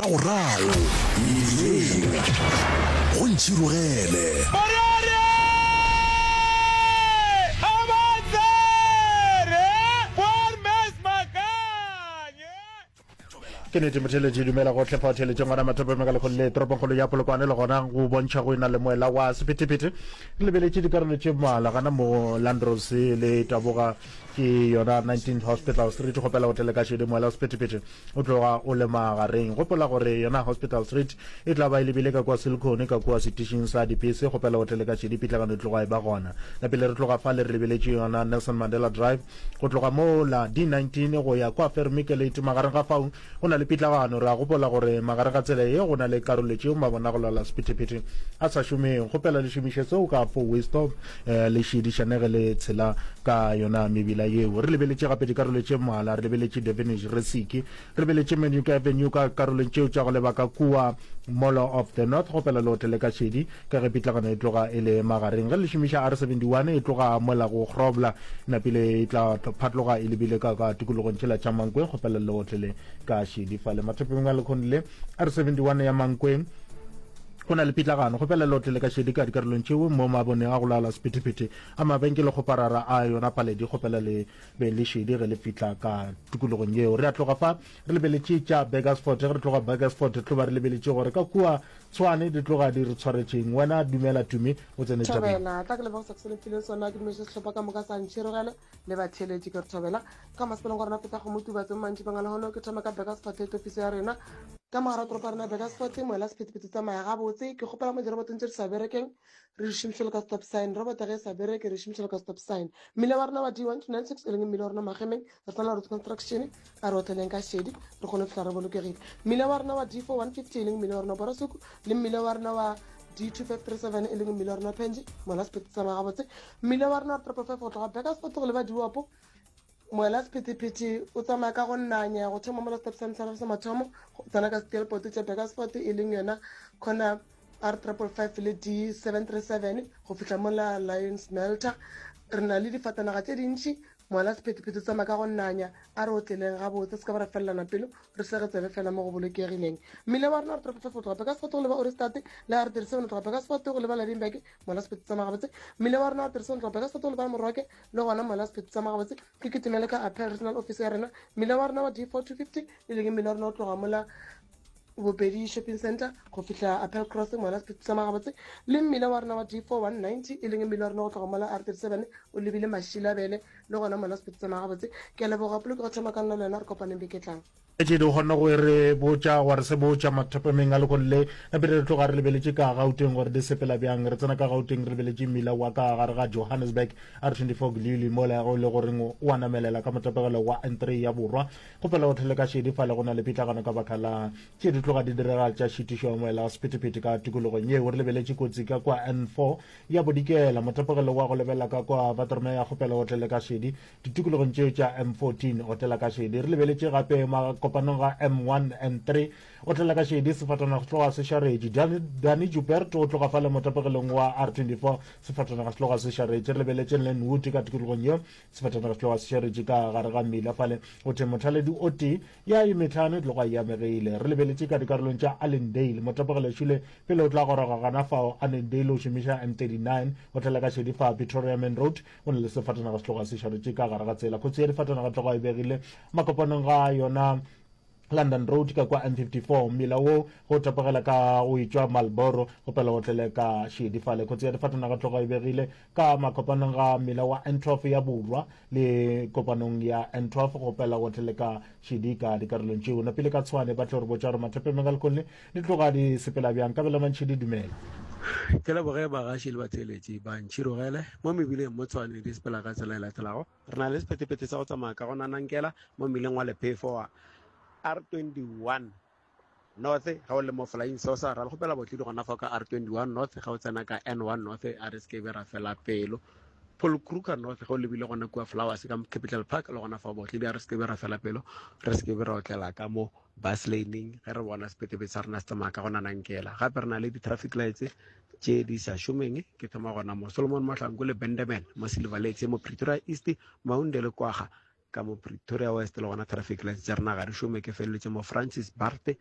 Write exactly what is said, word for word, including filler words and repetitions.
Moragorago mmileng go Ntšhirogele. Ke nete motheeletši, dumela gohle fa o theeletšeng gona Mathopeng ka lekgolo le toropongkgolo ya Polokwane le gona go bontšha go e-na le moela wa sephethephethe. Re lebeletše dikarolo tše mmalwa gana mo Landros le taboga ke yona nineteenth Hospital Street. Kgopela go tlele ka šedi moela wa sephethephethe o tloga o le magareng. Gopola gore yona Hospital Street e tla ba e lebile ka kua Silicon ka kua setišing sa dipese. Kgopela go tlele ka šedi pitlagano e tloga e ba gona. Na pele re tloga fale re lebeletše yona Nelson Mandela Drive go tloga mola D nineteen go ya kua Vermikelate magareng ga fao go na le pitlagano. Re a gopola gore magare ga tsela ye go na le karolo tšeo mabona go lwala sephethephethe a sa šomeng. Kgopela le šomiše seo ka four way stop eh, le šiedišane ge le tshela ka yona mebila yeo. Re lebeletše gape dikarolo tše mmalwa, re lebeletše Devenish Resiki, re lebeletše Manuka Avenue ka karolong tšeo tša go leba ka kua Mall of the North. Kgopela le otlele ka šedi ka ge pitlagano e tloga e le magareng. Ge le šomiša R seventy one e tloga mola go Grobler napile e tla phatloga e lebile ka ka tikologong tšela tša Mankweng. Kgopela le otlele ka šedi fale mathopeng a lekhono le R seventy one ya Mankweng go na le pitlagano. Kgopela le otlele ka šedi ka dikarolong tšeo mo maboneng a go laola sephethephethe a mabenkele kgoparara a yona paledi. Kgopela le be le šedi ge le fihla ka tikologong yeo. Re a tloga fa re lebeletše tša Burgersfort. Ge re tloga Burgersfort re tlo ba re lebeletše gore ka kua Tshwane di tloga di re tshwaretšeng. Wena dumela Tumi o tsene tabeng. Thobela, tla ke leboge se ke se le mphileng sona. Ke dumediše sehlopha ka moka sa Ntšhirogele le batheeletši. Ke re thobela ka masepaleng wa rena Feta Kgomo Tubatse mo mantšibeng a lehono. Ke thoma ka Burgersfort head office ya rena ka mogara toropo ya rena Burgersfort. Moela sephethephethe tsamaya gabotse. Ke kgopela mo dirobotong tše di sa berekeng re di šomišele ka stop sign. Roboto ge e sa bereke re šomišele ka stop sign. Mmila wa rena wa D one two nine six e leng mmila wa rena Magemeng re tshwanela road construction a re otleleng ka šedi re kgone go fihla re bolokegile. Mmila wa rena wa D four one fifty e leng mmila wa rena Borasuku le mmila wa rena wa D two five three seven e leng mmila wa rena Penji mola sephethe tsamaya gabotse. Mmila wa rena wa triple five go tloga Burgersfort go leba Diwapo moela sephethephethe o tsamaya ka go nanya go thoma mola stop sign sa sa mathomo go tsena ka steelport tša Burgersfort e leng yona corner R triple five le D seven three seven go fihla mola Lion Smelter. Re na le difatanaga tše dintši moela sephethephethe o tsamaya ka go nanya a re otleleng gabotse se ka ba ra felelana pelo re sege tsebe fela mo go bolokegileng. Mmila wa rena R triple five go tloga Burgersfort go leba Ohrigstad le R thirty seven go tloga Burgersfort go leba Lydenburg moela sephethe tsamaya gabotse. Mmila wa rena R thirty seven go tloga Burgersfort go leba Moroke le gona moela sephethe tsamaya gabotse. Ke kitimele ka Appel Regional Office ya rena. Mmila wa rena wa D four two fifty e leng mmila wa rena o tloga mola Bopedi Shopping Center go fihla Appel Cross moela sephethe tsamaya gabotse. Le mmila wa rena wa D four one ninety e leng mmila wa rena go tloga mola R thirty seven o lebile Mashilabele le gona moela sephethe tsamaya gabotse. Ke a leboga polokego thoma ka nna le wena re kopaneng beke tlang. Tše di kgone go re botša gwa re se botša mathopemeng a lekgolo le napile re tloga re lebeletše ka Gauteng gore di sepela bjang. Re tsena ka Gauteng re lebeletše mmila wa ka gare ga Johannesburg R twenty four Glili mola go le goreng o a namelela ka motapegelo wa N three ya borwa. Kgopela go thele ka šedi fale go na le pitlagano ka baka la tše di tloga di direga tša šitišo ya moela wa sephethephethe ka tikologong yeo. Re lebeletše kotsi ka kwa N four ya bodikela motapegelo wa go lebelela ka kwa Watermeyer. Kgopela go tlele ka šedi ditikologong tšeo tša M fourteen otlela ka šedi. Re lebeletše gape makopanong ga M one N three otlela ka šedi sefatanaga se tloga se šaretše. Dani Joubert o tloga fale motapegelong wa R twenty four sefatanaga se tloga se šaretše. Re lebeletše Lenwood ka tikologong yeo sefatanaga se tloga se šaretše ka gare ga mmila fale o the mothaledi o tee ya e metlhano e tloga e amegile. Re lebeletše ka dikarolong tša Allendale motapegelo šule pele o tla goroga gana fao Annandale o šomiša M thirty nine otlela ka šedi fa Pretoria Main Road o na le sefatanaga se tloga se šaretše ka gare ga tsela. Kotsi ya difatanaga tloga e begile makopanong ga yona London Road ka kwa M fifty four mmila wo go tapogela ka go etšwa Marlboro go pela go tlele ka šedi fale. Kotsi ya difatanaga tloga e begile ka makopanong ga mmila wa N twelve ya borwa le kopanong ya N twelve go pela go tlele ka šedi ka dikarolong tšeo. Napile ka Tshwane ba tlo re botša gore mathopeng a lekgolo di tloga di sepela bjang. Kabelo Mantšhidi dumela. Ke leboge bagaši le batheeletši ba Ntšhirogele mo mebileng mo Tshwane di sepela ka tsela e latelago. Re na le sephethephethe sa go tsamaya ka go nanankela mo mmileng wa Lephefo wa R twenty one North ga o le mo Flying Saucer. Ra le kgopela botledi gona fa ka R twenty one North ga o tsena ka N one North a re se ke be ra fela pelo. Paul Kruger North ga o lebile gona kua Flowers ka Capital Park le gona fa botledi a re se ke be ra fela pelo, re se ke be ra otlela ka mo bus laning ge re bona sephethephethe sa rena se tsamaya ka go nanankela. Gape re na le di-traffic lights tše di sa šomeng. Ke thoma gona mo Solomon Mahlangu le Bendeman mo Silver Lakes mo Pretoria East, Maunde le Kwaga ka mo Pretoria West le gona traffic lights tša rena ga di šome. Ke feleletše mo Francis Bart